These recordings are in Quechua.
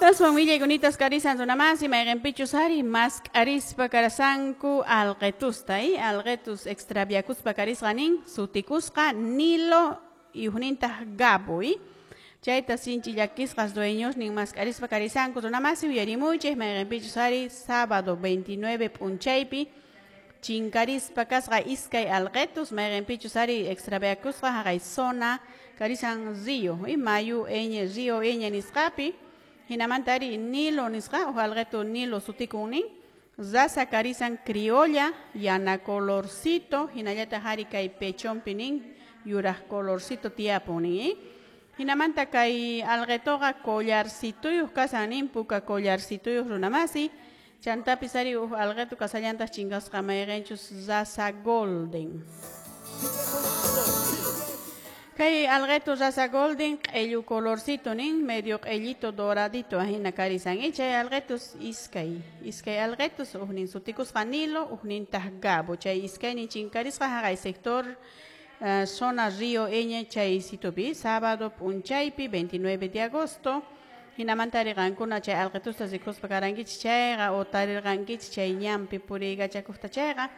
Aswan willaykunita karisan runamasi, mayqinpichus ari mask'arispa karasanku alqetusta, alqetus extraviakuspa karisqa nin, sutikusqa Nilo y uhnintaq Gabo, chayta sinchi llakisqas dueños nin mask'arispa karisanku runamasi, uyarimuychik mayqinpichus ari sábado 29 p'unchaypi chinkarispa kasqa iskay alqetus, mayqinpichus ari extraviakusqa haqay zona karisan río, mayu Ñ, río Ñ nisqapi. Hinamanta ari Nilo nisqa, uj alqetu Nilo sutikun nin, raza karisan criolla, yana colorcito, hinallataq ari kay pechonpi nin, yuraq colorcito tiyapun nin. Hinamanta kay alqetuqa collarcituyuq kasan nin, puka collarcituyuq runamasi, chantapis ari uj alqetu kasallantaq chinkasqa mayqinchus raza golden. Kay alqetu raza golden q'ellu colorcito nin, medio q'ellito doradito ahina karisan, chay alqetus iskay alqetus ujnin sutikusqa Nilo, ujnintaq Gabo, chay iskaynin chinkarisqa haqay sector zona Río Ñ chay situpi, sábado p'unchaypi 29 de agosto. Hinamanta ari qankuna chay alqetusta rikuspa karankichik chayqa o tarirqankichik chay ñanpi puriykachakuqta chayqa,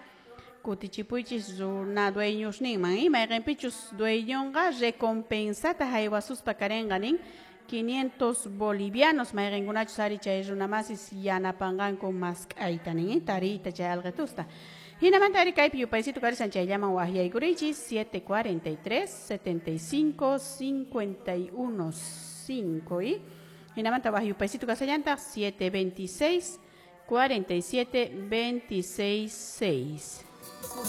kutichipuychis runa dueños ninman, mayqinpichus dueñonqa recompensata haywasuspa karinqa nin 500 bolivianos, mayqinkunachus ari chay runamasis yanapanqanku mask'ayta nin, tariyta chay alqetusta. Hinamanta ari kaypi yupaysitu karisan chayllaman waqyaykurichis 743 75 51 5, hinamanta waq yupaysitu kasallantaq 726 47 26 6.